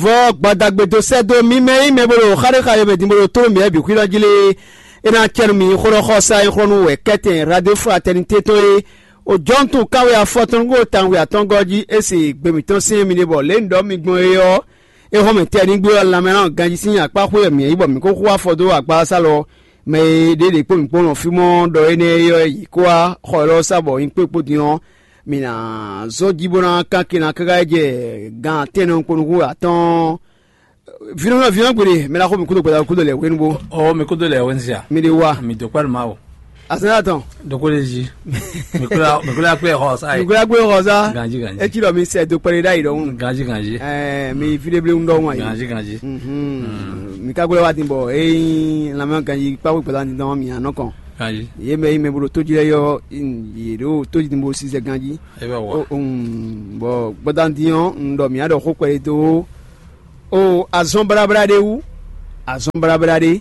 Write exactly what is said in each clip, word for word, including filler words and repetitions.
Vɔ gbadagbe dó sɛ́ dó mì mɛ e nyí mɛ bó ɖo xaɖéxaɖé mɛ din bó ɖo tlóló mǐ wɛ bǐ xwíɖɔ jí lé. É ná cɛ nú mi xó ɖɔ xɔ sa e xlɔ́ nú wɛ kɛ́tɛn Radio Fraternité tɔn é. O jɔ́ntun kánwe afɔtɔn nú tawun atɔ́ngɔ́ jí é se gbe mǐtɔn syɛ́n mi ɖe bɔ lě un ɖɔ mi gbɔn é ɔ́, é hɔn mɛ tɛnígbe ɔ́ lanmɛ ná ganjí sín akpá xwé wɛ mǐ yí bɔ mǐ ko xú afɔ dó agbása lɔ mɛ e ɖě ɖě kpó mǐ kpó nɔ fí mɔ ɖɔ énɛ́ é ɔ́ yě kó wá xɔ élɔ́ sá bɔ nyí kpékpó din ɔ́, mǐ ná zɔ́n jí bó ná kán kinna káká yi jɛ gan tɛ́nnɛ kpó nukún atɔ́ɔ́n. Vǐnɔ́ vǐnɔ́ gbeɖe mɛ ná xo mǐ kúdo gbɛdá kúdo lɛ hwenu bó. Ɔ mi kúdo lɛ wɛn sia. Mi ɖe wa. Mi dó kpɛlú ma o. Azɛn atɔn. Dókó lè zi. Mi kúlá mi kúlá kpé xɔ sa yi. Nukúlá gbé xɔ sa. Ganji ganji. Etsi ɖɔ mi sɛ do kpɛɖe ɖ'ayi ɖɔhun. Ganji ganji. Ɛɛ mi fi ɖe ble ŋu ɖɔhun ayi. Ganji ganji. Mhm. Mi ka gbé wa ti bɔ eyi lamɛ ganji kpakpo gbɛdá ti dɔn mi anɔ kɔn. Ganji. Ye mɛ yi mɛ bolo tó jí lɛ yɔ ye ɖo tó jí bo si sɛ ganji. Ebe wɔ. Bɔ gbɛdá ti yɔn un ɖɔ mi aɖɔ xó kpɛɖe tó. O azɔn blabla ɖé wú, azɔn blabla ɖé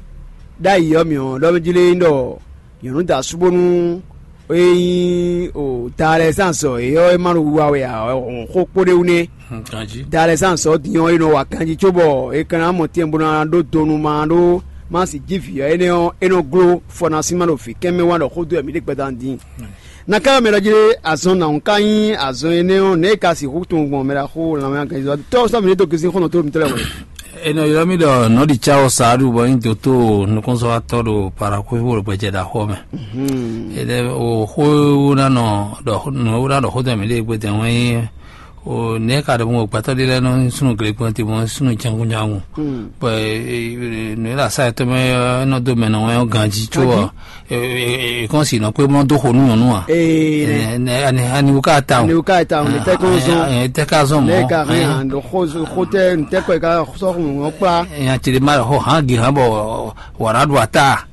ɖ'ayǐ ɔ́ mǐ ɔ́ ɖɔ mɛ jí lé nyí ɖɔ nyɔ̌nu da asú bónú é nyí o da lɛ́ɛ zán azɔ̌ é ɔ́ é má ɖo wiwa wɛ ǎ ɔ́ xó kpó ɖé wú nɛ́. Ganjí. Da lɛ́ɛ zán azɔ̌ din ɔ́ é nɔ wa ganjí cóbɔ é ka ná mɔ tɛn bó ná ɖó donu ma ɖó má sì jí vǐ ɔ́ énɛ́ ɔ́ é nɔ gló fɔ ná sín má ɖo vǐ kɛn mɛ wá ɖɔ xó dó wɛ mǐ ɖe gbɛdán din. Na ka mɛ ɖɔ jí azɔn nǎ ka nyí azɔn énɛ́ ɔ́, nɛ̌ è ka sixú tunwun gbɔn mɛ ɖaxó lanmɛ agɛnzɔ tɔ́ sɔ́ mǐ ní dó gosín xɔ́nɔ tó mitɔ́ lɛ́ɛ wɛ? È nɔ ylɔ́ mì ɖɔ nɔ̌ɖicáwɔ Saadu bɔ nyí dotóo nukúnzɔ́watɔ́ ɖo Parakwévo ɖo gbɛjɛ ɖaxó ɔ́ mɛ. Énɛ́ o xó ná nɔ ɖɔ nǔ e ná ɖɔ xó dó mǐ ɖe gbɛtɛ wɛn nyí o nɛ̌ ka ɖɔ mɔ gbɛtɔ́ ɖé lɛ́ɛ nɔ súnnu glegbɔn te mɔ súnnu jangunjangun. Bɔ nǔ e ɖo asá yětɔn mɛ ɔ́ é nɔ dó mɛ nɔ wɛn ɔ́ ganjí có ɔ́. Èkɔn si nɔ kpé mɔ dó xo nú nyɔ̌nu a? Ee, nɛ. Ani ani wo ka ta o. Ani wo ka ta o, ne tɛ kɔn zɔn. Ɛ tɛ ka zɔn mɔ. Ne ka hɛn an do xo xo tɛ n tɛ kɔ ka sɔ xo ŋɔ kpla. Ɛ ti de ma xɔ hàn gi hàn bɔ wàrà do ata.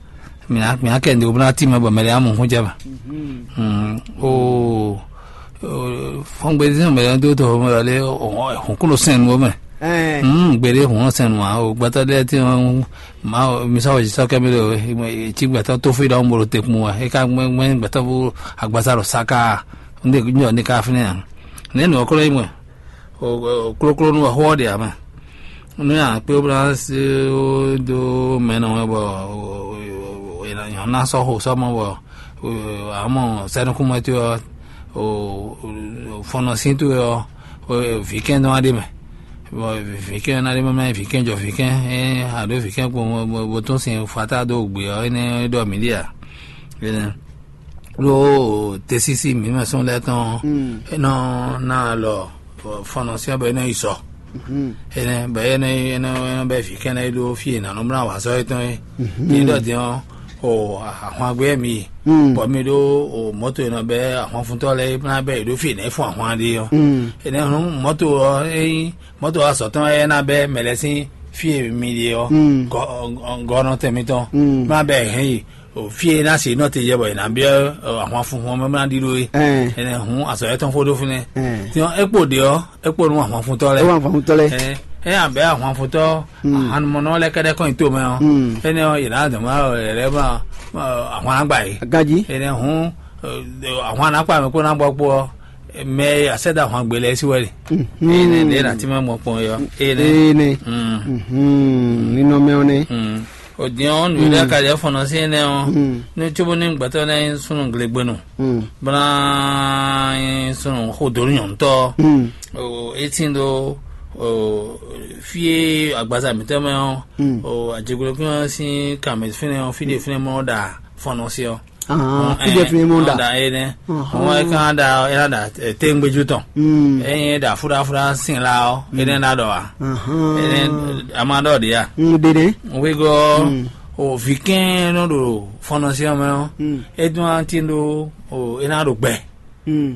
Mina mina kɛ ndo bna ti ma bɔ mɛlɛ amu xun jaba. O fɔngbe zin mɛ do to mɛ le hɔn kulo sɛn wo mɛ. Ɛɛ. Gbede hɔn sɛn wa o gbɛtɔ de ti ma mi sa o sɔ kɛ mi le ti gbɛtɔ to fi dɔn bolo te kun wa e ka gbɛ gbɛtɔ fo agbasa lɔ saka. Nde nyɔ ne ka fi ne ya ne nɔ klo yi mɛ. O kloklo nu xó ɔ́ ɖe ǎ mɛ. Nú nyankpé bó ná dó mɛ nɔ wɛ bɔ è nǎ sɔ́ xo sɔ́ mɔ bɔ amɔ sɛ́nukúnmɛtɔ́ ɔ́ fɔnɔ sín towe ɔ́, vǐkɛn nɔ wá ɖe mɛ. Bɔ vǐkɛn ná ɖe mɛ mɛ vǐkɛn jɔ vǐkɛn, a ɖǒ vǐkɛn kpo bó tún sin fata dó gbe ɔ́ énɛ́ ɖɔ mǐ ɖe ǎ. Ɖó tesisi mǐ mɛ sɔn lɛ́ɛ tɔn é nɔ ná alɔ fɔnɔ syɛ́n bɔ é nɔ yi sɔ. Énɛ́ bɔ é nɔ é nɔ é nɔ bɛ́ vǐ kɛ́nɛ é ɖó fí e nǎ nɔ mlá wǎ sɔ́ étɔn é. Ní ɖɔ din ɔ́, o ahwangbé mi yi, bɔ mi ɖó o mɔ̌to e nɔ bɛ́ ahwanfuntɔ́ lɛ́ɛ é ná bɛ́ yě ɖó fí e nǎ yi fún ahwan ɖe ɔ́. Énɛ́ hɔn mɔ̌to ɔ́ é nyí mɔ̌to azɔ̌ tɔn wɛ é ná bɛ́ mɛ lɛ́ɛ sín fí e mi ɖe ɔ́, gɔ́nɔtɛn mitɔn má bɛ́ hɛn yi. Fí e ná se nɔ te jɛ bɔ è nǎ byɔ́ ahwan funfun ɔ́ mɛ ná ɖíɖó é. Ɛnɛ hǔn azɔ̌ yɛtɔn fó ɖó fínɛ́. Din ɔ́, é kpo ɖě ɔ́, é kpo nú ahwan funtɔ́ lɛ́ɛ. É wá ahwan funtɔ́ lɛ́ɛ. É abɛ̌ ahwan funtɔ́ ahanumɔnɔ lɛ́ɛ kɛ́ɖɛ́ kɔn nyi tomɛ ɔ́, énɛ́ ɔ́, yě ná dɔn má lɛ́ má ahwan ná gba yě. Ganjí. Énɛ́ hǔn ahwan ná kpa mɛ kpó ná gbɔ kpó ɔ́, mɛ e asɛ́dá ahwan gbe lɛ́ɛ sí wɛ ɖe. Énɛ́ ɖě ná tí má mɔ kpɔn é ɔ́. Énɛ́. Énɛ́. Ninɔmɛ ɔ́ nɛ́. Òdìɔ́n nǔɖé ka jɛ fɔnɔ sí énɛ́ ɔ́, ní cóbó ní gbɛtɔ́ lɛ́ɛ nyí súnnu glegbenu, bó ná nyí súnnu xodó nyɔ̌nutɔ́, é tín dó fí e agbaza mǐtɔn mɛ ɔ́, ajegblékún ɔ́ sín kanmɛ fínɛ́ ɔ́, fí ɖé fínɛ́ mɔ ɖa fɔnɔ sí ɔ́. Fíjɛ fínɛ́ mɔ ɖa. Ɖa énɛ́. Wọ́n é kán ɖa é ná ɖa téŋgbéjú tɔn. Ényí é ɖa fúɖáfúɖá sin la ɔ́, énɛ́ ná ɖɔ ǎ. Énɛ́ a ma ɖɔ ɖě a? Ɖeɖe. Wígɔ o vǐ kɛ́n nɔ ɖo fɔnɔsí ɔ́ mɛ ɔ́, é dún atín ɖó o é ná ɖo gbɛ.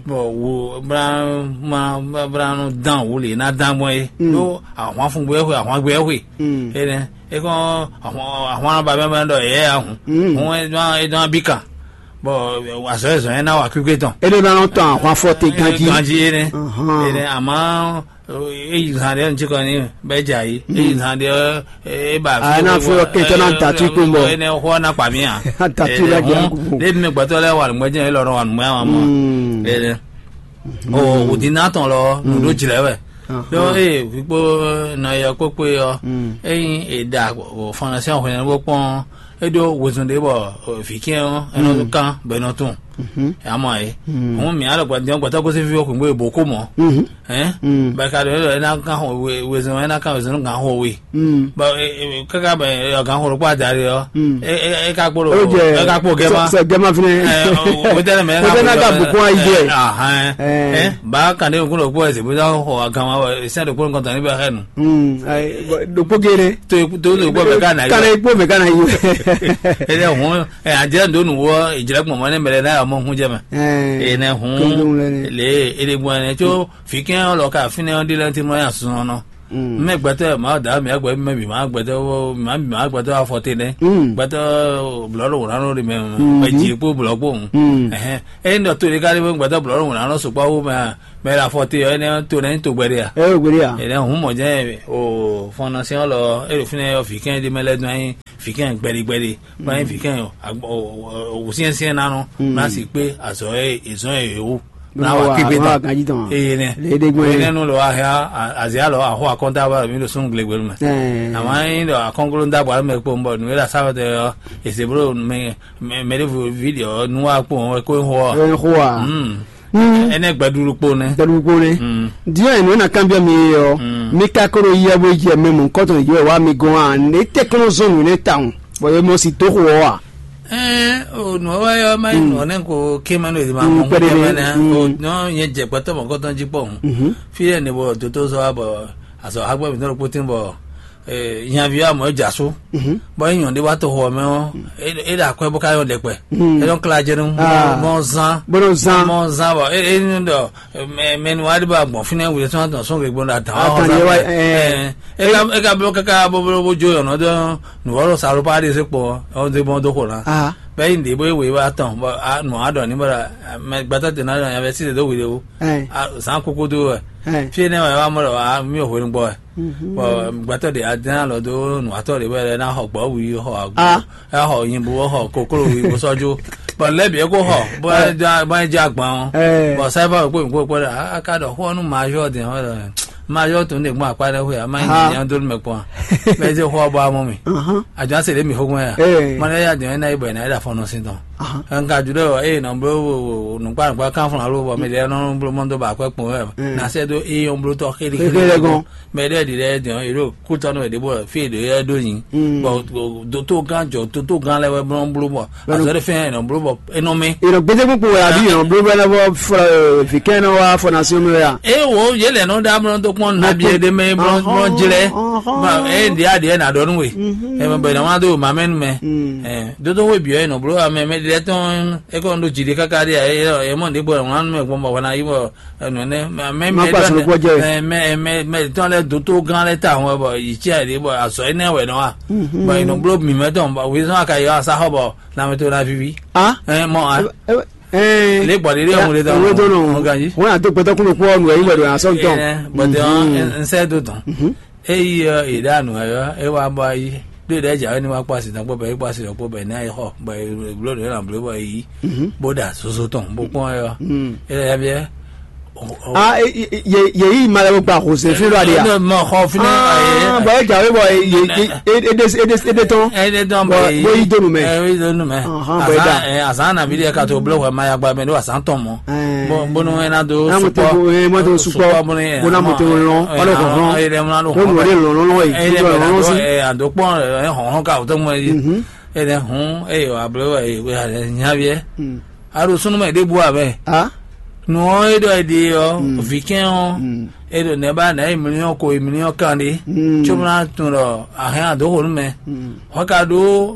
Bɔ wo bla ma bla nɔ dán wǔ lě ná dán gbɔn é. Ɖó ahwan fun gbé xwe ahwan gbé xwe. Énɛ́ é kɔn ahwan ba mɛ mɛ ɖɔ yɛ ahun. Hɔn é dán é dán bí kan. Bɔ azɔ̌ e zɔ̌n ɛ ná wa kwíkwé tɔn. É ɖó ná nɔ tɔn ahwan fɔ te ganjí. Ganjí énɛ́. Énɛ́ àmọ́ é yi zan ɖé ŋutí kɔ ní bɛ dza yí. É yi zan ɖé é ba. A ná fún yɔ kɛntɛ ná datu kpó bɔ. Énɛ́ xɔ ná kpa mí a. Datu la dza kú. Ɖé mi gbɛtɔ lɛ wà nùgbɛ jẹ lọ wà nùgbɛ wà mọ. Énɛ́ o òdì náà tɔn lɔ nù ɖó jìlẹ wɛ. Ɖó ée vǐ kpó nɔ e ɔ́ kpó kpé ɔ́, ényí è ɖa fɔnlɔsɛn hwenu bó kpɔ́n ɔ́, é ɖó wezun ɖé bɔ vǐ kɛ́n ɔ́ é nɔ kán bɔ é nɔ tunwun. Amɔ é hǔn mǐ á ɖɔ gbadin ɔ́ gbɛtɔ́ gosín fí ɔ́ xwǐngbe bǒ kó mɔ̌. Hɛn bɔ è ka ɖɔ é ɖɔ é ná kán wezun é ná kán wezun nú gǎn xo we. Bɔ káká bɔ é ɔ́ gǎn xo ɖokpó adarí ɔ́, é ka kpó ɖo é ka kpó gɛ́ ma. Sɛ gɛ́ ma fínɛ. Wetɛnɛ mɛ Wetɛnɛ ka bǔ kún ayi jɛ. Ahɛn. Ba kan ɖé nukún ɖokpó ɛsɛ bó dá xɔ agama sɛn ɖokpó nukɔn tɔn ní bɛ xɛ nu. Ɖokpó géɖé. To to ɖokpó mɛ ka na yi. Kana ikpó mɛ kana yi. Ele hɔn ɛ adze ndo nu wɔ ìjìlẹ gbɔn mɔ ne mɛlɛ na mɔ hun jɛ mɛ. Ene hun le ele gbɔn ne tso fikɛn lɔ ka fínɛ ɔn di lɛ ti mɔ ya sɔn nɔ. Mɛ gbɛtɔ ma da mi agbɛ mɛ bi ma gbɛtɔ ma bi ma gbɛtɔ afɔ te nɛ. Gbɛtɔ blɔ ɖo wònánɔ ɖi mɛ mɛ dzi kpó blɔ kpó. Ɛhɛn eyi nɔ to ɖe ka ɖi gbɛtɔ blɔ ɖo wònánɔ sukpɔ wo mɛ mɛ la fɔ te ɔ ɛnɛ to nɛ to gbɛ ɖe ya. Ɛ o gbɛ ɖe ya. Ɛnɛ hun mɔ jɛ o fɔnɔsɛn lɔ e ɖo fínɛ yɔ fikɛn ɖi mɛ lɛ dun anyi fikɛn gbɛɖi gbɛɖi. Báyìí fi kẹ́hìn wòsíẹ́nsíẹ́ nánú náà sì pé azɔ̌ e èzɔ́n e yǒ náà wà kébé tán. Eye nɛ Lédégbé. Eye nɛnu lɔ wá hɛn azia lɔ axɔ akɔnta wá mi ɖo súnnu glegbelu mɛ. Àmọ́ yín ɖɔ akɔngolo ń dàgbà mɛ kpó ń bɔ nǔ e ɖo asáwɛ tɛ ɔ èsè bó ɖo mɛ mɛ ɖěvo ví ɖe ɔ nú wá kpó ɔn wɛ kó ń xo ɔ. Ɛ xo a. Ɛnɛ gbɛɖuɖu kpo nɛ. Gbɛɖuɖu kpo nɛ. Diɔ enu na kanbiɔ mi ye ɔ, mi ka ko ɖo yɛ bo yɛ mɛ mɔ kɔtɔn yɛ wa mi gɔn a? Ne te kɔnɔ zɔn nǔ ne tawun, bɔ ye mɔ si to xo ɔ a? Ɛɛ o nɔ wɛ yɔ ma yi nɔ ne ko ke ma no edima mɔ kpɛɖe kpɛɖe ne ne o nɔ nye dze kpɛtɔ mɔ kɔtɔn dzi kpɔ hun. Fi yɛ ne bɔ doto zɔ wa bɔ azɔ hagbɛ mi tɔn ɖo kpotin bɔ nyavi wa mɔ e dza so. Bɔ e nyɔ ɖe wa to xɔ mɛ ɔ e ɖe akwɛ bɔ ka yɔ ɖɛkpɛ. E nɔ kla jɛ nu mɔ zan bɔ zan bɔ e e nu dɔ mɛ mɛ nu wa ɖe bɔ agbɔn fi ne wuli sɔn atɔ sɔn gbe gbɔn da dan wa xɔ zan. E ka e ka blo kaka boblo bo jo yɔnɔ dɔ nuvɔlɔ salo pa ɖe se kpɔ ɔ de bɔn do xo na. Bɛ yi ɖe bo e wei wa tɔn bɔ nu wa dɔ ni bɔ mɛ gbɛtɔ tena dɔ nya bɛ si de do wi de wo. Zan koko do wɛ. Fi ne wa wa mɔ dɔ wa mi o hwenu gbɔ wɛ. Bɔ gbɛtɔ de adɛn alɔ do nu atɔ de bɔ e na xɔ gbɔ wi xɔ agbo. Exɔ nyibu bó xɔ koklo wi bó sɔ́ jó. Bɔ lɛ́ bǐ é kó xɔ bó é jɛ agban ɔ́. Bɔ sɛ́fɔ kpó kpó kpó ɖɔ a ka ɖɔ xó ɔ́ nú majɔ din ɔ́ ɖɔ majɔ tó ne gbɔn akpa ɖe xwe a ma nyi nya dó mɛ kpɔn. Mɛ zé xó ɔ́ bɔ amɔ mi. Àjọ ase ɖe mi xó gbɔn ya. Mɔ ne ya din ɔ́ ena yi bɔ ena yi ɖe afɔnɔ sin tɔn. Nka ju ɖe ɔ eye nɔ blo nukpa nukpa kan fún alo bɔ mi ɖe nɔ blo mɔ dó ba akwɛ kpɔn wɛ. Na sɛ dó eye ɔn blo tɔ xéli xéli gɔn. Mɛ ɖe ɖi ɖe din ɔ́ yě ɖo kútɔnú wɛ ɖěbɔ fí e ɖě yɛ ɖó nyi. Bɔ dótó gán jɔ dótó gán lɛ́ wɛ blɔ́ bló bɔ azɔ̌ ɖé fɛn ɛnɔ bló bɔ enɔ mɛ. Ìrọ̀ gbéjégbé kpo wɛ àbí ìrọ̀ bló bɛ lɛ́ fɔ vikɛn nɔ wá fɔ nation nɔ ya. E wo yé lɛ nɔ ɖá blɔ́ tó kpɔn nabi e ɖé mɛ blɔ́ blɔ́ jlɛ. E ɖi aɖi ɛ na ɖɔ nú we. Ɛ mɛ bɛ na wá dó ma mɛ nu mɛ. Dótó wo biɔ enɔ bló amɛ mɛ ɖi lɛ tɔn e kɔ ɖo jì ɖi káká ɖi ɛ mɔ ɖi bɔ ɛ wá nu mɛ gbɔn bɔ wá na yi bɔ Ɛnɔ nɛ mɛ mɛ Má mɛ kpa ɖɔ sɔlɔ kpɔ jɛ. Mɛ mɛ mɛ mɛ tɔn lɛ dótó gán lɛ ta hɔn bɔ yi tsi ayi bɔ azɔ yi nɛ wɛ nɔ wa. Bɔ yi nɔ blo mi mɛ tɔn bɔ wizɔn aka yi asa xɔ bɔ lamɛ to na vivi. Ah. Ɛ mɔ a. Ɛɛ. Le gbɔ de de ɔmu de tɔn. Ɔmu de tɔn nɔ. Ɔmu ganji. Wọn yà tó gbẹtọ kúlò kpɔ nù ẹyin wẹdọ yà sọ tɔn. Bɔtɛ ɔn nsɛ do tɔn. Eyi ɔ yi ɖe anu ɛ ɔ e wa bɔ ayi ɖo ɖe dza ni wa kpɔ asi tɔn kpɔ bɛ e kpɔ asi tɔn kpɔ bɛ ne ayi xɔ bɔ e blo ɖe na blo bɔ e yi. Bó ɖa soso tɔn bó kpɔn ɛ ɔ. E lɛ ya biɛ. Ah, e- e- ye ye yi ma lɛ gba xose fi lɔ adi ya. Ne mɔ xɔ fi ne Ah, bɔ e jawe bɔ ye ye e e de e de e de tɔn. Ɛ ne dɔn Bɔ bɔ yi bɔ yi donu mɛ. Ɛ yi donu mɛ. Ɔhɔn, bɔ e da. Azan ɛ azan na bi de ka to blo xɔ ma ya gba mɛ do azan tɔn mɔ. Ɛɛ. Bɔn bɔn no ɛna do N'a mo te sukpɔ. Ko ye mo te sukpɔ. Bɔn ne Mo na mo te lɔn. Wala ko hɔn. Ɛ yɛrɛ mo na do Ko mo de lɔn lɔn ye. Ɛ yɛrɛ Ko mo na lɔn do si. Ɛ ado kpɔn ɛ hɔn hɔn ka o tɔn mɔ yi. Mhm. Ɛ ne hun ɛ yɔ ablo ɛ ɛ nya biɛ. Hmm. A ɖo súnú mɛ ɖěbǔ ǎ mɛ. Ah. Nǔ ɔ́ é ɖɔ è ɖe ɔ́, vǐ kɛ́n ɔ́, é ɖo nɛ̌ ba nɛ̌ e mlíɔ́n ko e mlíɔ́n kan ɖé, cóbó ná tunwun ɖɔ a hɛn adǒ xo nú mɛ. Hɔn ka ɖó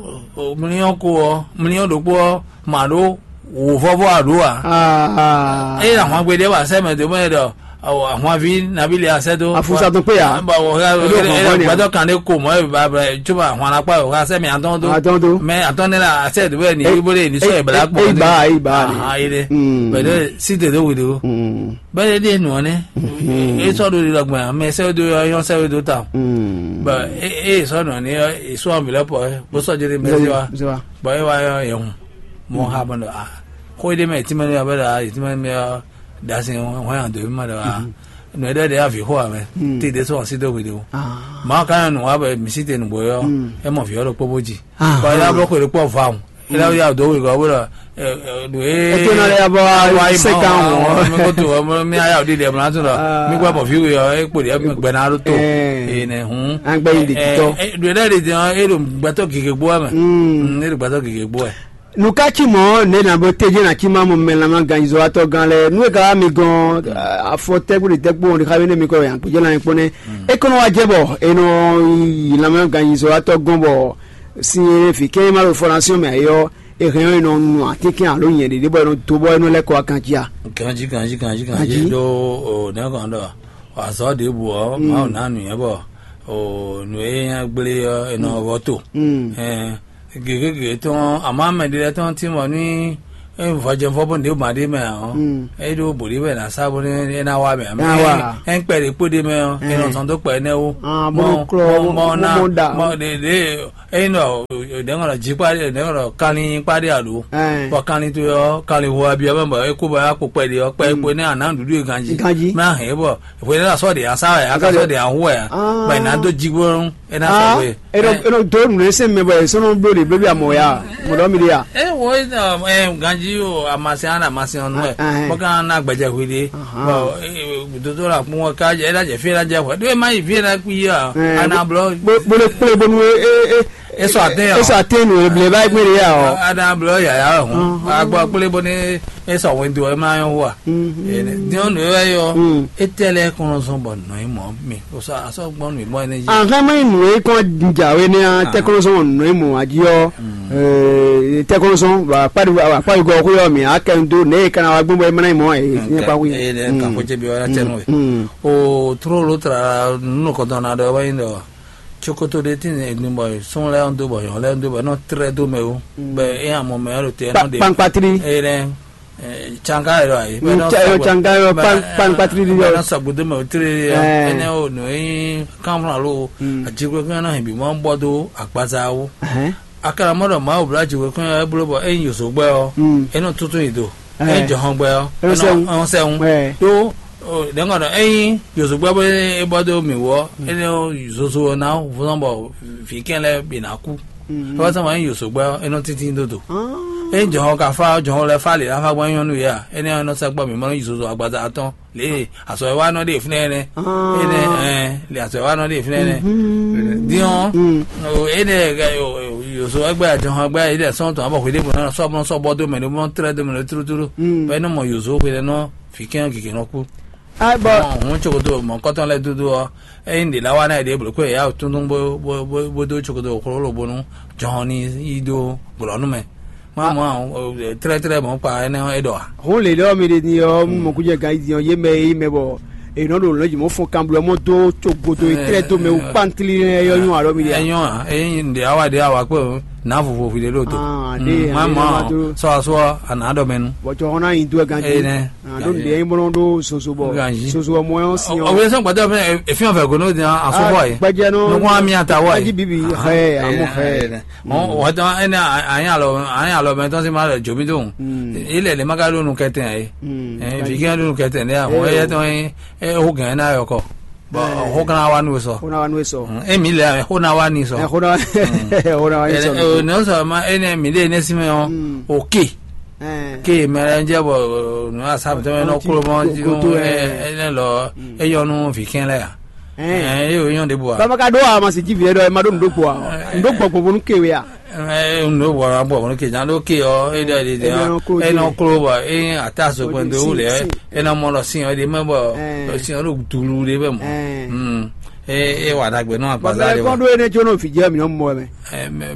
mlíɔ́n ko ɔ́, mlíɔ́n ɖokpó ɔ́, ma ɖó wǒvɔ́vɔ́ ǎ ɖó ǎ. Ah. Ényí ahwan gbe ɖé wa sɛ́ mɛ dó mɛ ɖɔ ahwanví nabí le asɛ dó. Afusa tó pé ya. Bɔ wò ká Eɖo gbɔgbɔ ni a? Gbɛdɔ kan ɖé ko mɔ ɛ ba ba tso ma hwan akpa wò ká sɛ mi atɔn do. Atɔn do. Mɛ atɔn ne la asɛ do bɛ ni ibo de ni sɔ ebla gbɔ. Eyi ba eyi ba ni. Aha yi de. Bɛ de si de do wi do. Bɛ de de nɔ ne. E sɔ do di lɔ gbɛ mɛ sɛ do yɔ yɔ sɛ do ta. Bɛ e e sɔ nɔ ne e sɔ mi lɛ pɔ bó sɔ jeli mɛ si wa. Bɔ e wa yɔ yɛ hun. Mɔ ha bɔ a. Xo yi de mɛ ti mɛ ne yɔ bɛ da yi ti mɛ ne yɔ. Dasi hɔn yan do ma ɖe wa. Nǔ e ɖɔ ɖe avǐ xo ame, tí ɖé sɔ́ asi dó hwi ɖe o. Mawu ka nyɔ nǔ wa bɔ mǐ sí te nǔgbó ɔ́, é mɔ vǐ ɔ́ ɖokpó bó ji. Bɔ é ná bló xwe ɖokpó vɔ awu. É ná ya dó hwe gɔ́ bó ɖɔ nǔ e É tó ná lɛ́ yá bɔ wá wa yi sɛ́ kan wɔ. Mɛ ko to ɔ mɛ mi aya o ɖiɖi ɛmɛ tún lɔ mi gbɛ bɔ fi wi ɔ e kpo ɖi ɛmɛ gbɛ ná ɖo to. Ee ne hun. An gbɛ yi ɖe titɔ. Ɖo ɖe ɖe jɛn e ɖo gbɛtɔ gege gbó ɛmɛ. E ɖo gbɛtɔ gege gbó ɛ. Nukatsi mɔ ne na bo teje na tsi ma mo mɛ lama ganzɔatɔ gan lɛ nu e ka mi gɔn afɔ tɛgbɛ tɛgbɛ o de xa ne mi kɔ yan kpedze na kpɔnɛ e kɔnɔ wa jɛ bɔ e nɔ yi lama ganzɔatɔ gɔn bɔ si e fi kɛ ma lo fɔnasiyɔn mɛ ayɔ e hɛn ɔ e nɔ nu atínkɛn alo nyɛ ɖiɖe bɔ e nɔ do bɔ e nɔ lɛ kɔ akan cia. Ganji ganji ganji ganji Ganji. Do o ne kɔn dɔ azɔ de bu ɔ ma o na nu yɛ bɔ o nu e nya gble ɔ e nɔ vɔ to. Ɛɛ gěgé tɔn àmọ́ mɛ ɖé lɛ́ɛ tɔn tínmɔ ní vɔjɛvɔ bó ɖěbǔ ma ɖ'é mɛ ǎ ɔ́, é ɖó bǒ ɖ'é mɛ ná sá bónú é ná wá mɛ. Ná wá. Ɛ ŋkpɛ ɖě kpó ɖ'é mɛ ɔ́, é nɔ zɔn dó kpɛ énɛ́ wó. Ah, bó nɔ klɔ́, bó, bó, bó nɔ da, bó nɔ da. Bó ɖě ɖě é nɔ ɖɛ̌ ŋɔ ɖɔ jikpá ɖě, ɖɛ̌ ŋɔ ɖɔ kanlin kpá ɖě alo. Bɔ kanlin towe ɔ́, kanlin hu abiɔ mɛ bɔ é kú bɔ é wá kpo kpɛ ɖě ɔ́, kpɛ é kpo énɛ́ a nǎ nǔɖuɖu e ganjí. Ganjí. Mɛ a hɛn é bɔ hwě énɛ́ a sɔ́ ɖě a sá wɛ a ka sɔ́ ɖě a hu wɛ ǎ. Bɔ è nǎ dó jí gbɔn é ná sɔgbe. Eno eno do nunɛsɛn mɛ bɔ esɔnɔ blo de blebi amɔ ya mɔdɔ mi de ya. E wo e ganji o amasin ana amasin ɔnu ɛ bɔ kan na gbɛjɛ hwi de bɔ dodo la kpɔn ka jɛ ɛna jɛ fi ɛna jɛ hwɛ do e ma yi fi ɛna kpi ya ana blɔ. Bolo kple bonu e e e sɔ ate ya esɔ ate nu eble ba gbére ya ɔ. Ana blɔ yaya hɔn agbɔ kple bonu e sɔ wɛn do e ma yɔ wa. Diɔn nu e yɔ e tɛ lɛ kɔnɔ sɔn bɔ nɔ e mɔ mi. Sɔ asɔ gbɔn nǔ bɔ ɛnɛ jí. Ahɛn mɛ nù e kɔn dza we ne a tɛkɔnɔsɔn nù e mɔ aji ɔ tɛkɔnɔsɔn akpa yi gɔ ko yɔ mi akɛ do ne e kana wa gbɔn bɔ e mana mɔ e ne pa wi. Eye ne ka ko jɛ bi wala tɛ nɔ ye. O tró ló tra nínú kɔtɔn na ɖɔ wɛ nyi ɖɔ tsokoto ɖe tí ne egbin bɔ sɔn lɛ do bɔ yɔn lɛ do bɔ nɔ trɛ do mɛ o bɛ e amɔ mɛ alo tɛ nɔ de pankpatiri. Eye ne Tsanga yɛ lɔ ayi. Tsanga yɔ pankpatiri di yɔ. Bɛna sɔgbe do mɛ o tiri yɛ. Ɛnɛ o nɔ yi kanflan lo. Ajigbɛ kan na hin bi mɔ bɔ do agbaza wo. Akara mɔ dɔ ma o bla ajigbɛ kan yɛ blo bɔ e nyi yoso gbɛ ɔ. E nɔ tuntun yi do. E jɔhɔn gbɛ ɔ. E nɔ sɛwun. Do dɛngɔ dɔ e nyi yoso gbɛ bɔ e bɔ do mi wɔ. E nɔ zozo na vɔn bɔ vi kɛn lɛ bi na ku. Ewɔ sɛ ma nyí yǒsogbɛ ɔ́, é nɔ tíntín dó do. É nyí jɔ̌n ɔ́ ka fá ɔ́, jɔ̌n ɔ́ lɛ́ fá lě ná fá gbɔn nyɔ́nú yě a? Énɛ́ ɔ́ nɔ sɛkpɔ́ mǐ mɔ nú yǐzozo agbaza atɔ́ lě e azɔ̌ e wá nɔ ɖe fínɛ́ ɛnɛ. Énɛ́ ɛn lě azɔ̌ e wá nɔ ɖe fínɛ́ ɛnɛ. Din ɔ́, énɛ́ yǒzo ɛgbɛ́ ajɔ̌n ɛgbɛ́ yě lɛ́ sɔ́ tɔn abɔ hweɖěbǔ nɔ sɔ́ nɔ sɔ́ bɔ dó mɛ ɖé mɔ tlɛ́ dó mɛ ɖé tlútlú. Bɔ é nɔ mɔ yǒzo hwedɛ́nɔ vǐ kɛ́n gěgé nɔ kú. Bɔ hǔn cokoto mɔ̌kɔtɔn lɛ́ɛ dúdú ɔ́, ényí ɖě ná wa ná yi ɖě blǒ kó yě yá wǔ túntún bó bó bó bó dó cokoto xlóxló bónú jɔhɔn ní yi dó glɔ̌ nú mɛ. Má mɔ tlɛ́tlɛ́ mɔ̌ kpa énɛ́ ɔ́ é ɖɔ ǎ. Hǔn lě lɛ́ ɔ́ mi ɖe din ɔ́, mɔkúnjɛ gan yi din ɔ́, yé mɛ e yí mɛ bɔ è nɔ ɖo lɔ̌njǐmɔfɔn kanblɔ́ mɔ dó cogbodo e tlɛ́ dó mɛ wú kpántli nɛ́ é nyɔ́ ǎ ɖɔ mi ɖe ǎ. É nyɔ́ ǎ, ényí ɖě awa ɖě awa kpé o, nǎ vovo hwi ɖé ɖo do. Ah, ɖe má ɛ mɔ má dó. Sɔ asú ɔ́, a nǎ ɖɔ mɛ nu. Bɔ jɔhɔn ná nyi dó ɛ ganjí. Énɛ́. Ah, ɖó nǔɖé nyí bó nɔ ɖó zozo bɔ Ganjí. Zozo ɔmɔ ɛ ɔ́ sin ɔmɔ. Ɔwɛ sɔn gbɛtɔ fɛn efin ɔfɛ ko n'o di asopɔ yi. Gbɛjɛ nɔ. Nukun ami ata wɔ yi. Gbɛji bibi xɛ amu xɛ. Wɔtɔ ɛnɛ anyi alɔ anyi alɔ mɛ tɔn si ma lɛ jomi dɔn. Ilẹ̀ ní ma ka ɖo nu kɛtɛ yɛ. Fi kí ɖo nu kɛtɛ ní àwọn ẹyẹ tɔn yín ó gàn ẹ́ náà yọkọ. Bɔn xó kan wá nú sɔ. Xó náà wá nú sɔ. Emi lɛ xó náà wá ní sɔ. Xó náà xó náà wá ní sɔ. Ní sɔ ma ẹni mi lé ní sinmi ɔ. Òkè. Ké mɛ lɛ ń jẹ́ bɔ nù asá mi tẹ́ mɛ nɔ kúrò mọ́ tí wọ́n ẹ ẹ lọ ẹ yọ nù fi kɛn lɛ ya. Ẹ ẹ yóò yàn dé bu wa. Bàbá ka dó wa ma sì jí fi ẹ dɔ ẹ ma dó nù dó gbɔ wa nù dó gbɔ gbogbo nù kéwé ya. Ẹ nù dó gbɔ wa gbɔ nù kéjà dó ké ọ ẹ dɔ ẹ dɔ ẹ nɔ kúrò bɔ ẹ ata so pẹ̀lú wúlẹ̀ ẹ nà mọ lọ sí ọ de mẹ bọ lọ sí ọ ló dùlù de bẹ mọ. Ẹ ẹ wà dàgbẹ́ náà gbàdá de wa. Bàbá kọ́ dó ẹ ní ẹ tí ó nọ fìjẹ́ mi nọ mọ ẹ mẹ.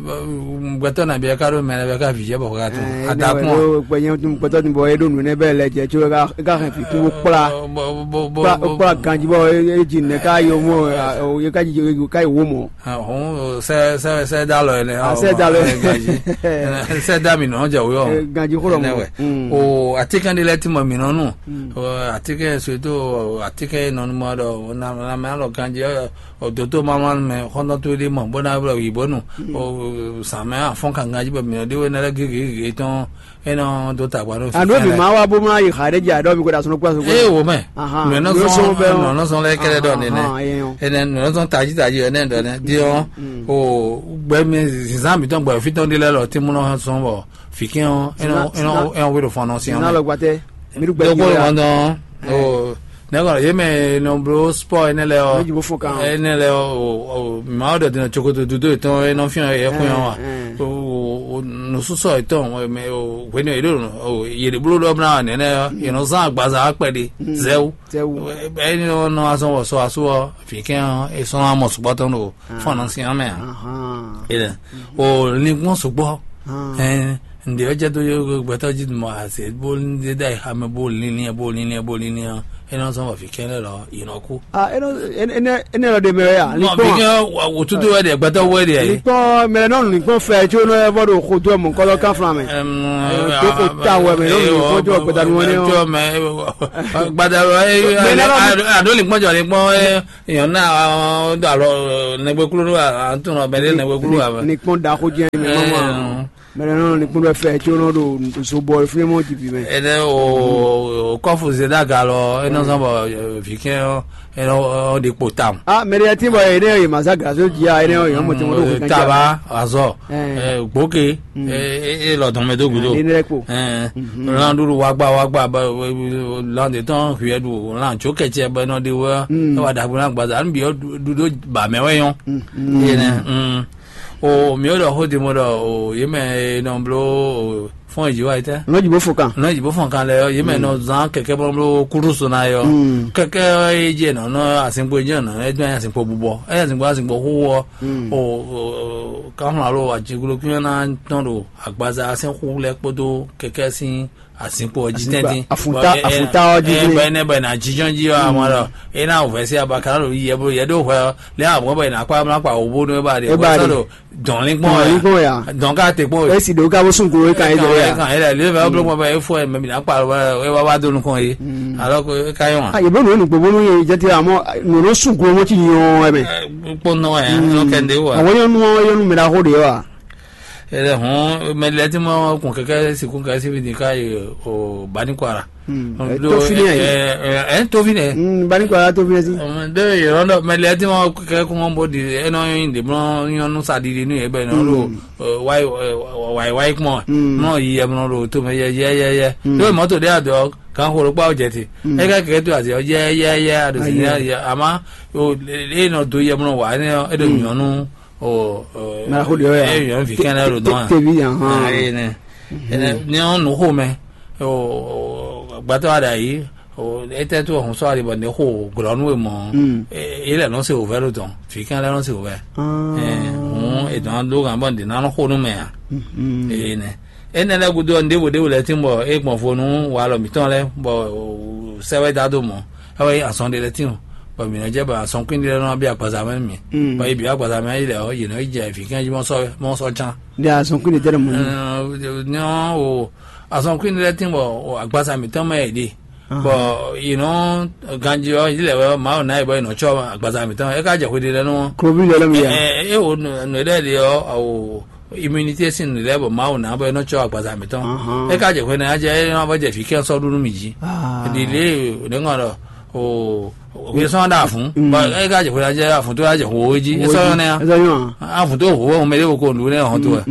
Gbɛtɔ na bia ka ɖo mɛ lɛ bɛ ka vijɛ bɔ ka to. Adakun. Gbɛtɔ ni bɔ e ɖo nu ne bɛ lɛ jɛ tso e ka hɛn fi kún kpla. Kpla ganji bɔ e ji ne ka yo mo e ka ji ka yi wo mɔ. Hɔn sɛ sɛ sɛ da lɔ yɛ. Sɛ da lɔ yɛ. Sɛ da mi nɔ jɛ wo yɔ. Ganji xɔlɔ mɔ. O atikɛ de lɛ ti mɔ mi nɔ nu. Atikɛ soto atikɛ nɔnumɔ dɔ na na mɛ alɔ ganji. Ɔ dǒtó mamlánú mɛ xɔ́ntɔn towe ɖé mɔ bó ná ylɔ́ wǐ bónú O zǎn mɛ afɔ́n kankan jí bɔ mǐ nɔ ɖe we nɛ́ lɛ́ɛ gěgé gěgé tɔn é nɔ dó ta gba nɔ. Àná mi máa wá bó máa yi xa ɖé jɛ aɖɔ mi ko ɖo asɔnɔ kpó asɔnɔ. Ee, wo mɛ. Mɛ nɔ sɔn bɛ nɔ nɔ sɔn lɛ kɛlɛ ɖɔ nɛnɛ. Ɛnɛ nɔ sɔn tají tají ɛnɛ ɖɔ nɛ diɔ. O gbɛ mi zinzan mi tɔn gbɛ fitɔn ɖi lɛ lɔ ti mu nɔ sɔn bɔ fikɛn ɔ ɛnɔ ɛnɔ ɛnɔ wéɖo fɔn nɔ sian. Nɔ lɔ gbatɛ mi ɖu gbɛ. Dɔgbo wan dɔn. O ne kɔnɔ yé mɛ nɔ blo sport ɛnɛ lɛ ɔ. Ɛnɛ lɛ ɔ. Mawu ɖɔ dinɔ tsokoto dudo etɔn e nɔ fian yɛ kun yɔ wa. Nusɔsɔ etɔn mɛ o hwenu yɛ ɖo yɛ ɖe blo ɖɔ bla nɛnɛ ɔ yɛ nɔ zan agbaza akpɛ ɖe zɛwu. Ɛni nɔ azɔn wɔ sɔ asu ɔ fikɛn ɔ e sɔn amɔ sukpɔ tɔn ɖo fɔn nɔ sian mɛ a. Ele o linkpɔn sukpɔ. Ɛn ǹdè ɔ́ jɛ dó gbɛtɔ́ jí mɔ azě bó ɖe ɖa yi xamɛ bó linlin bó linlin bó linlin ɔ́ é nɔ zɔn bɔ vǐ kɛnɛ lɔ yi nɔ kú. Ah, énɛ́ énɛ́ énɛ́ lɔ ɖe mɛ wɛ ya? Mɔ vǐ kɛn wòtútù wɛ ɖe gbɛtɔ́ wɛ ɖe yɛ. Likpɔn mɛ nɔ likpɔn fɛ tso nɔ vɔ ɖo xo dó mɔ kɔlɔ kan flan mɛ. Tó ko ta wɛ mɛ nɔ likpɔn jɔ gbɛdanu wɛ nɛ ɔ. Gbadanu wɛ ado likpɔn jɔ likpɔn yɔn na do alɔ nɛgbɛ kúló do atún nɔ bɛ ɖe nɛgbɛ kúló. Likpɔn da xo jɛ mɛ mama. Mɛ nɔ likpɔn bɛ fɛ tso nɔ ɖo zobɔ fúnɛ mɔ jibi mɛ. Ɛnɛ o kɔfu zedaga lɔ ɛnɛ zɔn bɔ vǐ kɛn ɔ ɛnɛ ɔ ɖi kpo tam. Ah, mɛ ɖe ti bɔ ɛnɛ yɛ ma za gazo ji a ɛnɛ yɛ mɔ tɛmɛ ɖo taba azɔ gboke e lɔ dɔn mɛ do gudo. Ɛnɛ kpo. Lan ɖuɖu wagba wagba lan de tɔn hwiɛ ɖu lan tso kɛtsɛ bɛ nɔ ɖi wɛ. Ɛwà dàgbò náà gbaza anu bi ɔ ɖuɖo ba mɛ wɛ yɔn. Ɛnɛ. O mǐ ɖɔ xó din bó ɖɔ o yě mɛ e nɔ bló fɔ́n e jǐ wa yi tɛ́. Nɔ́ jǐ bó fɔn kan. Nɔ́ jǐ bó fɔn kan lɛ ɔ́, yě mɛ nɔ zán kɛkɛ́ bó bló kúɖúso ná yɔ. Kɛkɛ́ e jɛ nɔ nɔ asinkpo e jɛ nɔ ɛ dɔn asinkpo bubɔ ɛ asinkpo asinkpo xó ɔ. O kanflán alo ajiglo kí ná tɔn ɖo agbaza asɛn xú lɛ kpódó kɛkɛ́ sín asinkpo ɔ́ jí tɛ́ntin. Afuta ɔ́ jí tɛ́ntin. Bɔ ɛnɛ bɔ ɛnɛ ajijɔn jí ɔ́ amɔ lɔ ena wò vɛsɛ abakana ɖo yi yɛ blo yɛ ɖo hwɛ ɔ́ lɛ amɔ bɔ ɛnɛ akpa amla kpa wò bó nú eba ɖe bɔ sɔ ɖo dɔn linkpɔn ya dɔn ka te kpɔn. Esi ɖo ka bó sun kuro kan yɛ jɔ ya kan yɛ lɛ lɛ bɛ blo kpɔn bɛ efo ɛ mɛ mi na kpa lɔ ɛ wa wa do nukɔn ye alɔ ko e ka yɔ wa. Yebo nɔ nugbo bonu ye jɛ ti amɔ nɔnɔ sun kuro mɔ ti nyɔ ɛmɛ. Kpɔn nɔ ɛ nɔ kɛ nde wa. Awɔ yɔnu yɔnu mɛ ɖaxo ɖe wa. Ele hɔn mɛ lɛ ti ma kun kɛkɛ sikun kɛ si fi ka yi o bani kwara. Tofinɛ. Ɛ tofinɛ. Bani kwara tofinɛ si. De yɔrɔ dɔ mɛ lɛ ti ma kɛ kun bɔ di enɔ yin de mɔ nyɔnu sa didi nu yɛ bɛ nɔ do wayi wayi wayi kpɔn nɔ yi yɛ mɔ do to mɛ yɛ yɛ yɛ yɛ. Do mɔto de adɔ kan xoro kpa o jɛ ti. E ka kɛkɛ to azi yɛ yɛ yɛ ado si yɛ ama e nɔ do yɛ mɔ wa ne e do nyɔnu. Maraxo ɖe ya. Ɛ yɔn vi kɛnɛ ɖo dɔn. Tevi yan hɔn. Ayi nɛ. Ɛnɛ ni ɔn nu xo mɛ. Gbatɔ wa ɖe ayi. Etɛ to ɔhun sɔ ali bɔ ne xo glɔnu e mɔ. Yi lɛ nɔ se ovɛ ɖo dɔn. Vi kɛn lɛ nɔ se ovɛ. Hɔn edɔn do gan bɔ ne na nɔ xo nu mɛ a. Eye nɛ. Enɛ lɛ gudo ɔn ɖevo ɖevo lɛ tin bɔ e gbɔn vo nu walɔ mitɔn lɛ bɔ sɛwɛ da do mɔ. Awe azɔn ɖe lɛ tin o. Bɔ mǐ nɔ jɛ bɔ azɔn kwín ɖe lɛ nɔ bi agbaza mɛ mi. Bɔ yi bi agbaza mɛ yi lɛ ɔ yi nɔ yi jɛ fǐkɛn jí mɔ sɔ mɔ sɔ can. Ɖe azɔn kwín ɖe tɛ ɖe mɔ ni. Nyɔ o azɔn kwín ɖe lɛ tin bɔ agbaza mǐtɔn mɛ yi ɖe. Bɔ yi nɔ ganji ɔ yi lɛ wɛ mawu na yi bɔ yi nɔ tsɔ agbaza mǐtɔn e ka jɛ xwe ɖe lɛ nɔ. Klovi lɛ lɛ mi ya. E o nɔ ɖe ɖe ɔ awo immunité sin lɛ bɔ mawu na bɔ e nɔ tsɔ agbaza mǐtɔn. E ka jɛ xwe na jɛ e nɔ bɔ jɛ fǐkɛn sɔ ɖu nú mi jí. Ɖi lě ne ŋɔ ɖɔ o. Wí sɔn ɖa fún. Bɔ e ka jɛ xwe jɛ afun tó yà jɛ xo wo jí e sɔ yɔn nɛ ya. Afun tó xo wo mɛ de wo ko nu ne hɔn to wɛ.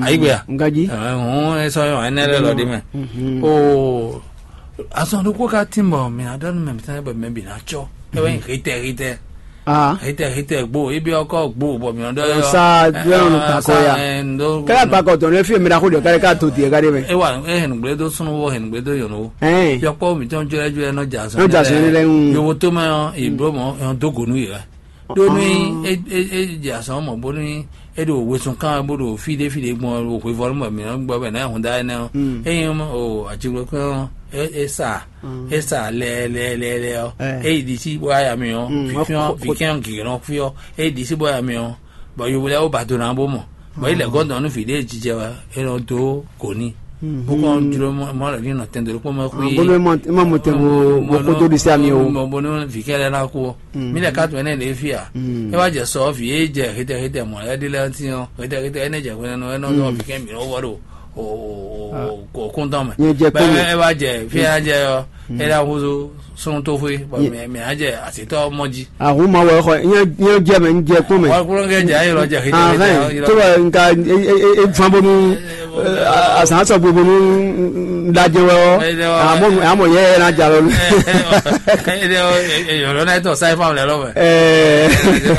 Ayi gbe ya. Nkaji. Hɔn e sɔ yɔn ɛnɛ lɛ lɔ de mɛ. O asɔn ɖokpó ka tin bɔ mɛ adɔnu mɛ mitɔn bɔ mɛ bi na tsɔ. E wɛ yin hitɛ hitɛ. Hitɛ hitɛ gbo ebi ɔkɔ gbo bɔ mi ɔdɔ yɔ. Sa jɔn kakɔ ya. Kɛlɛ gbakɔ tɔn ne fi mi na ko de kare ka to diɛ ka de mɛ. Ewa e hɛn gble do sunu wo hɛn gble do yɔn wo. Yɔkpɔ mi tɔn jɔlɛ jɔlɛ nɔ ja sɔn. Nɔ ja sɔn ne lɛ ŋu. Yovo to mɛ ɔ iblo mɔ ɔ do gonu yɛ. Do ni e e e ja sɔn mɔ bo ni e do wesun kan bo do fi de fi de gbɔn o hwe vɔ mɔ mi gbɔ bɛ na hun da ne ɔ. Eyin o atiglo kan e sa e sa lɛ lɛ lɛ lɛ ɔ. Eyi di si bo aya mi ɔ. Fifiɔn fifiɔn gigin ɔ fiɔ eyi di si bo aya mi ɔ. Bɔ yovo lɛ wo ba do na bo mɔ. Bɔ yi lɛ gɔn dɔn nu fi de jijɛ wa e nɔ do goni. Bó kɔn jló mɔ lɛ ní nɔ tɛndo kpó mɛ xwí. Bónú é má mɔ tɛn bó kó dó ɖisí ami o. Bónú vǐ kɛ́ lɛ́ɛ ná kú. Mí lɛ ká tó ɛnɛ lě fí a. É wá jɛ sɔ vǐ é jɛ xitɛ xitɛ mɔ lɛ́ɛ ɖi lɛ́ɛ tín ɔ́, xitɛ xitɛ ɛnɛ jɛ hwenu ɛnɛ nɔ vǐ kɛ́ mǐ nɔ vɔ ɖo kɔ́ntɔn mɛ. Nyɛ jɛ kpɔ́n mɛ. É wá jɛ fí a jɛ ɔ́, é ná húzú súnnu tó xwé bɔ mɛ mɛ á jɛ asǐtɔ́ mɔ jí. Ahun ma wɔ xɔ nyɛ nyɛ jɛ mɛ n jɛ kpɔn mɛ. Wọ́n kúrò ń gẹ́jà yìí lọ́jà kìí jẹ́ Ahɛn, tó bɛ nka e fan bonu azan sɔ gbogbo nu lajɛ wɛ ɔ. Amɔ amɔ yɛ yɛ na ja lɔ. Yɔlɔ náà tɔ sáyé fáwọn lẹ lọ́wọ́.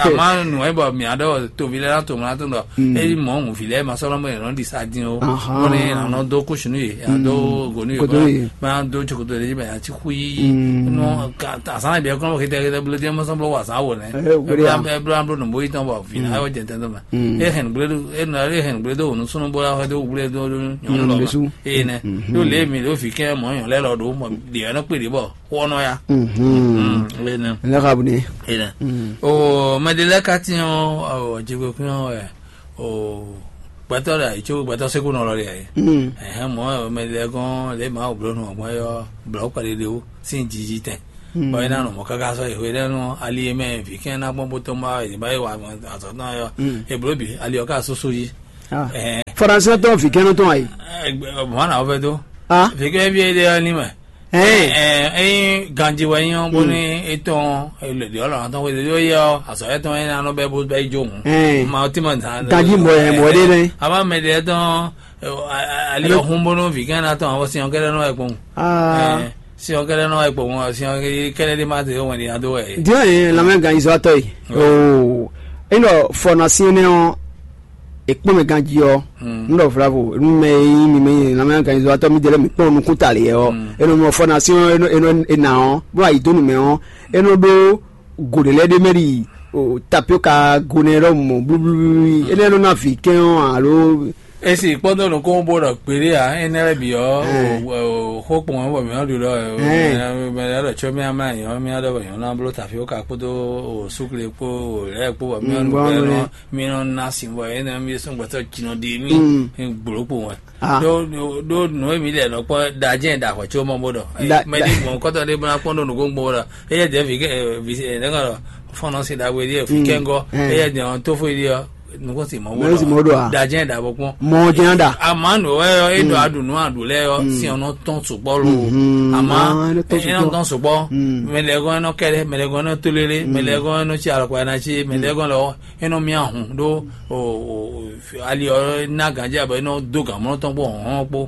Àmọ́ nù ẹ́ bọ̀ mí àdó tóbi lẹ́la tó mọ́lá tó ń dọ̀. Èyí mọ̀ ń fi lẹ́ ma sọ́nà mọ́ ìrànlọ́ di sa dín o. Wọ́n ní ìrànlọ́ dó kóṣù nù yìí àdó gònú yìí. Bá dó jokoto lè yí bẹ̀rẹ̀ àti kú yíyí. Àsán ìbí ẹ̀kọ́ náà kété kété bolo díẹ̀ mọ́sán bolo wà sán wò nẹ́. Ẹ bolo àbúrò nùbó yìí tán bọ̀ fìlà ayọ̀ jẹ̀ tẹ́tọ́ mẹ́. E hɛn gblé do e nɔ e hɛn gblé do wònú súnú bó la xɔ dó gblé dó nyɔnu lɔ ma. Eye nɛ. Ɖó lě mi ɖó vǐ kɛ́ mɔ̌ nyɔ̌ lɛ́ɛ lɔ ɖó mɔ ɖě ɔ́ nɔ kpe ɖě bɔ xó ɔ́ nɔ ya. Eye nɛ. Lɛ xa bu ne. Eye nɛ. O mɛ ɖé lɛ́ɛ ka tín ɔ́, jigbe kún ɔ́ wɛ o gbɛtɔ́ ɖe ayǐ có gbɛtɔ́ sékú nɔ lɔ ɖe ayǐ. Ɛhɛn mɔ̌ mɛ ɖé lɛ́ɛ gɔ́n lě Mawu bló nú ɔ́ gbɔn é ɔ́ blɔ̌ kpɛɖé ɖé wú sín jiji tɛn. Bɔ é ná nɔ mɔ̌ káká sɔ́ yi hwenɛ́nu ali e mɛ vǐ kɛ́n ná gbɔn bó tɔ́n bá yě bá yi wa azɔ̌ tɔn ɔ́, è blǒ bǐ ali ɔ́ ká súsú jí. Fɔɖansɛntɔn vǐ kɛ́nnɔ tɔn ayi. Mɔ̌ ná wɔ fɛ dó. Vǐ kɛ́n ví é ɖe ɔ́ ní mɛ. Ényí ganjí wɛ nyí ɔ́ bónú é tɔn lědí ɔ́ lɔ̌ tɔn xwedó yɛ ɔ́, azɔ̌ yɛ tɔn é ná nɔ bɛ́ bó bɛ́ yi jó hǔn. Ma ɔ́ tí ma zǎn. Ganjí mɔ ɛ mɔ ɖé nɛ́. Abá mɛ ɖě tɔn ali ɔ́ hún bónú vǐ kɛ́n ná tɔn àwọn sin ɔ́ kɛ́ɖɛ́ nɔ wɛ kpɔ́n. Sin ɔ́ kɛ́ɖɛ́ nɔ wá kpɔ́ wọn, sin ɔ́ kɛ́ɖɛ́ ɖé má zé wɛn ɖé ná dó wɛ. Diɔ ye lamɛ ganzɔtɔ yi. Oo. Enɔ fɔ na sin ne ɔ ekpɔn mɛ ganji ɔ. Ndɔ vlavo nu mɛ yi mi mɛ lamɛ ganzɔtɔ mi dele mi kpɔn nukun ta le ɔ. Enɔ mɔ fɔ na sin ɔ enɔ enɔ ena ɔ bó ayi donu mɛ ɔ enɔ ɖó gode lɛ ɖe mɛ ɖi tapioka gone ɖɔ mɔ blublu enɛ nɔ na vi kɛn ɔ alo. Esi kpɔ́dɔ́ nukún bó ɖɔ kpeɖé ǎ, énɛ́ lɛ́ɛ bǐ ɔ́, xó kpɔn ɔ́ bɔ mǐ nɔ́ ɖu ɖɔ mɛ ɖɔ tsɔ́ mì amlá nyɔ̌ mì ɖɔ bɔ nyɔ̌ ná bló tafíwóka kpódó súkle kpó lɛ́ɛ kpó bɔ mì nɔ́ ɖu bɔ mì nɔ́ ná sin bɔ énɛ́ mì sɔ́ gbɛtɔ́ jinɔ ɖi mì gblo kpo wɛ. Ɖó ɖó nǔ e mǐ lɛ nɔ kpɔ́ ɖa jɛ́n ɖa hwɛ̌ có mɔ bó ɖɔ mɛ ɖé gbɔn kɔ́tɔ ɖé bó ná kpɔ́n ɖó nǔgbó gbɔn bó ɖɔ éyɛ́ dɛ̌ vǐ vǐ ɖɛ̌ nɔ ɖɔ fɔ́nɔ́ sin ɖagbe ɖíe vǐ kɛ́ngɔ́ éyɛ́ dɛ̌ ɔ́ tófó ɖíe ɔ́ nukún sin mɔ bó Mɛ si mɔ ɖɔ a? Ɖa jɛ́n ɖa bó kpɔ́n. Mɔ jɛ́n ɖa. Àmọ́ nǔ wɛ ɔ́ é ɖɔ aɖu nǔ aɖu lɛ́ɛ ɔ́ sin ɔ́ nɔ tɔn sukpɔ́ lo. Àmọ́ é nɔ tɔn sukpɔ́. Mɛ lɛ́ɛ gɔ́n é nɔ kɛ́ɖɛ́, mɛ lɛ́ɛ gɔ́n é nɔ tó lélé, mɛ lɛ́ɛ gɔ́n é nɔ cí alɔkpa ná cí, mɛ lɛ́ɛ gɔ́n lɔ é nɔ mì ahun ɖó ali ɔ́ ná gǎnjɛ abɔ é nɔ dó gǎn mlɔ́ tɔn kpó hɔ̌nhɔ́n kpó.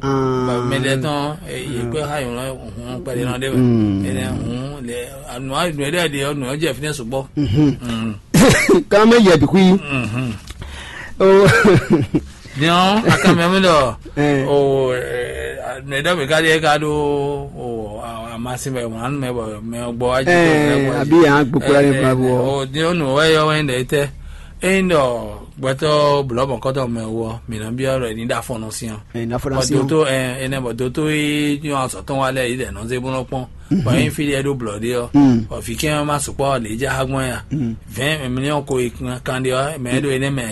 Mɛ lɛ́ɛ tɔn yě kpé xá yǒ hɔn kpɛɖé nɔ ɖé mɛ. Énɛ́ hǔn lɛ nǔ nǔ e ɖɔ ɖe ɔ́ nǔ ɔ́ jɛ fínɛ́ sukpɔ́. Kana mɛ yɛ bi kui. Oh. Diɔn akamɛ mi ɖɔ o nɛdɔ mi ka ɖe ka ɖo o amasi mɛ mɔ anu mɛ bɔ mɛ gbɔ wa jɛ. Abi yan gbokpo la ne ba bɔ. O diɔn nu wɛ yɔ wɛ ndɛ tɛ eyin dɔ gbɛtɔ blɔ mɔ kɔtɔ mɛ wɔ mi na bi ɔrɔ ni da fɔnɔ sian. Ɛ na fɔnɔ sian. Doto ɛ enɛ bɔ doto yi yɔ azɔtɔn wa lɛ yi dɛ nɔ ze bɔ nɔ kpɔn. Bɔ yin fi ɖe ɖo blɔ ɖe ɔ ɔ fi kɛ ma sukpɔ le dza ha gbɔn ya. Vingt millions ko yi kan ɖe ɔ mɛ ɖo enɛ mɛ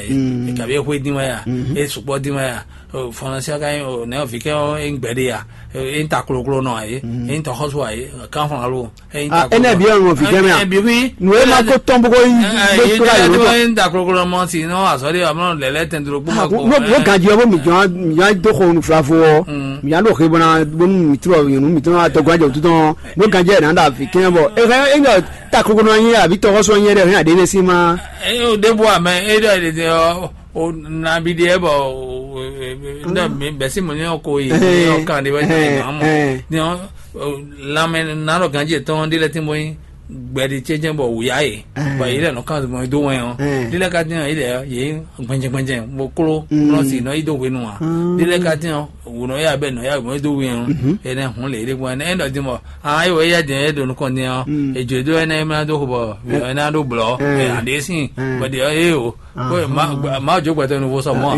ye kabi exwe din wɛ ya e sukpɔ din wɛ ya. Fɔnɔsia ka yin o nɛ ɔ fi kɛ ɔ e gbɛ ɖe ya e ta kloklo nɔ ye e ta xɔsu ye kan fɔnɔ lo e ta. Ɛnɛ bi ɔn fi kɛ mɛ a. Ɛbi wi. Nu e ma ko tɔn boko yi bɛ kura yi lɔ. E ta kloklo mɔ si nɔ azɔ de amɔ lɛlɛ tɛn duro kpɔ ma ko. Mo ganji ɔ mo mi jɔn mi jɔn do xɔ nu fila fo ɔ. Mi jɔn do xe bɔna bonu mi trɔ yonu mi trɔ atɔgba jɛ tutu tɔn. Mo ganji ɛ na da fi kɛ bɔ e hɛn e ŋgɔ ta kloklo nɔ nyi abi tɔgɔ sɔ nyi ɛ dɛ hɛn ade ne si ma. E o de bo amɛ e dɔ e de ɔ. O nabi ɖe bɔ o ndɔ bɛsi mo nyɔ ko yi nyɔ kan de bɛ nyɔ amɔ nyɔ lamɛ nanɔ ganji etɔn de lɛ tin bɔ nyi gbɛɖi ce jɛ bɔ wuya ye bɔ yi lɛ nɔ kan mɔ do wɛn ɔ de lɛ ka din yi lɛ ye gbɛnjɛ gbɛnjɛ bo klo nɔ si nɔ yi do hwenu a de lɛ ka din ɔ wò nɔ ya bɛ nɔ ya gbɔn do wɛn ɔ ɛnɛ hun le yi de gbɔn ɛnɛ ɛnɛ dɔ din bɔ a yi wɔ ya din ɛ do nukɔn din ɔ edzo do ɛnɛ ɛmɛ do bɔ ɛnɛ do blɔ ɛ ade sin bɔ de ɔ ye o. Ko ma ma jo gbɛtɔ nu fo sɔ mɔ.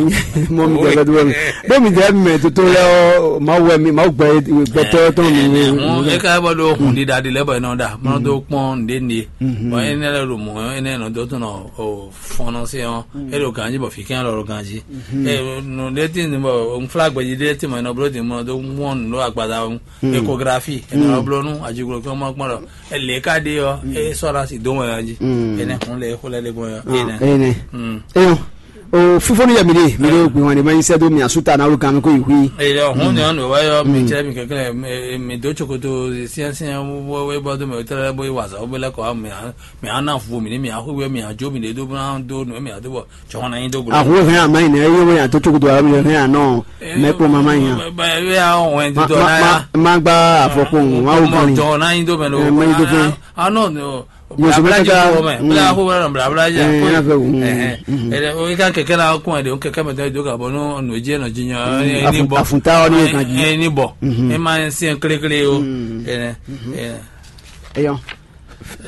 Mɔ mi gbɛtɔ tu mi. Bɛ mi jɛ mɛ toto lɛ ɔ ma wɛ mi ma gbɛ gbɛtɔ tɔn mi. E ka bɔ do hun di da di lɛ bɔ ɛnɔ da mɔ do kpɔn. ɔ́ nǔɖé nǔɖé. Bɔ énɛ́ lɛ́ɛ ɖo mɔ̌ ɔ́, énɛ́ nɔ dó tɔn nɔ fɔ́nnɔsé ɔ́, é ɖo ganjí bɔ fǐ kɛ́n lɔ ɖo ganjí. Nǔɖé tín bɔ un flá gbɛjí ɖé tín mɔ è nɔ bló din mɔ dó wɔn nǔ ɖó agbaza wú. Ékografi è nɔ bló nú ajiglo kí wọ́n mɔ kpɔ́n ɖɔ lě ká ɖe ɔ́, é sɔ́ ná si dó wɛn jí. Énɛ́ hun lɛ xó lɛ́ ɖe gbɔn ɔ́. Énɛ́. Énɛ́. Eyɔn. O fífó ní yɛ mi ɖe mi ɖo gbìn wan ɖe ma nyi sɛ dó mi asú ta na wolo gan mi kó yi hui. Eyi ɖɔ hun ni ɔnu wɛ yɔ mi tsɛ mi kɛkɛ mi do tsokoto siansian wɛ bɔ do mi tɛlɛ bɔ yi wazɔ bɔ lɛ kɔ mi mi ana fu mi ni mi axu wɛ mi adzo mi ɖe do bɔ do nu mi ado bɔ tsɔn na nyi do glo. Ahun hɛn ama yi nɛ eye wɛ ato tsokoto awo mi hɛn anɔ mɛ kpɔ mama yi hàn. Bɛ ya wɔn do na ya. Ma gba afɔkun ma wo kɔni. Tsɔn na nyi do mɛ do. Ɛ ma nyi do fɛn. Anɔ. Yosoma kaka. Bla ko wala bla bla ja. Ɛ na fɛ wu. Ɛ o ka kɛkɛ la kún ɛ de o kɛkɛ mɛ tɛ do ka bɔ no no je no jinya. Ni bɔ afunta ni kan ji. Ni bɔ e ma se kle kle o. Ɛ ɛ. Eyɔn.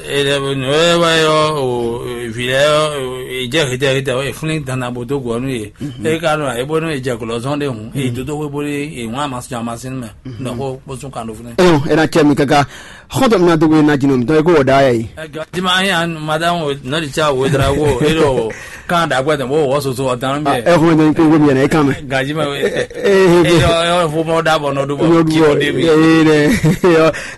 Ɛ ɛ no ɛ wa yɔ o vi lɛ yɔ e jɛ hete hete o e fúnni dandan bo do gɔ nu ye. E ka no e bo no e jɛ gɔlɔ zɔn de hun e dodo we bo de e wọn a ma sɔn a ma sin mɛ. Nɔ ko kpɔsɔn kan do fúnni. Eyɔn, ɛ na cɛ mi kaka. Xɔntɔn mi na dogbe na jinɔ mitɔn e ko wɔ da yɛ yi. Tima anya madame nɔdi tsa wo dra wo e ɖo kan da gbɛ tɔn bo wɔ soso ɔtan bɛ. Ɛ xɔn jɔ ko mi yɛrɛ kan mɛ. Gaji ma we. E yɔ fo mɔ da bɔ nɔ do bɔ ki o de mi. E ne.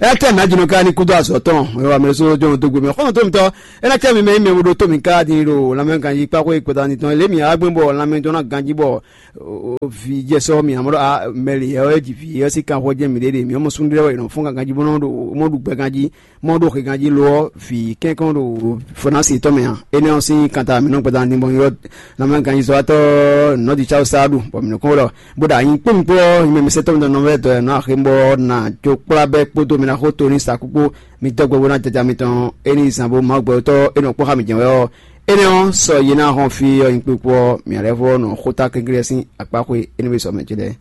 Ɛ tɛ na jinɔ ka ni kudo azɔ tɔn. E wa mɛ so jɔ dogbe mi xɔntɔn mi tɔ. E na tɛ mi mɛ mi wo do to mi ka di do lamɛ ganji kpa ko e kpɛta ni tɔn le mi agbɛn bɔ lamɛ tɔn na ganji bɔ. Vǐ jɛ sɔ́ mì amɔ̌ ɖɔ a mɛli ɛ ɔ́ ji vǐ ɔ́ sín kanxɔ jɛ́n mǐɖée ɖe mǐ ɔ́ mɔ súnnu ɖé wɛ è nɔ fɔ́n ganjí bó nɔ́ ɖo mɔ ɖu gbɛ ganjí mɔ ɖo xe ganjí lo ɔ́ vǐ kɛ́nkɔ́n ɖo fɔnási tɔn mɛ ǎ. Énɛ́ ɔ́ sín kanta mǐ nɔ gbɛdá ní bɔ ylɔ́ lanmɛ ganjízɔ́watɔ́ nɔ́ di cáwú sáɖu bɔ mǐ nɔ kɔn ɖɔ bó ɖo anyi kpó mi kpó ɔ́ nyí mɛ mi sɛ́ tɔn mi nɔ vɛ́ dɔ ɛ nɔ axé bɔ ná jó kplá bɛ́ kpódó mi ná xó to ní sa kúkpó mi dɔ́ gbɛ bó ná jaja mitɔn é ní zán bó Mawu gbɛtɔ́ é nɔ kpɔ́ xá mǐ jɛ́n wɛ ɔ́. Énɛ́ ɔ́, sɔ yi ná hɔn fí ɔ́ nyí kpikpó ɔ́, mǐ lɛ́ vɔ́ nɔ xóta kɛnklɛ́n sín akpáxwé énɛ́ sɔ mɛ ce lɛ́ɛ.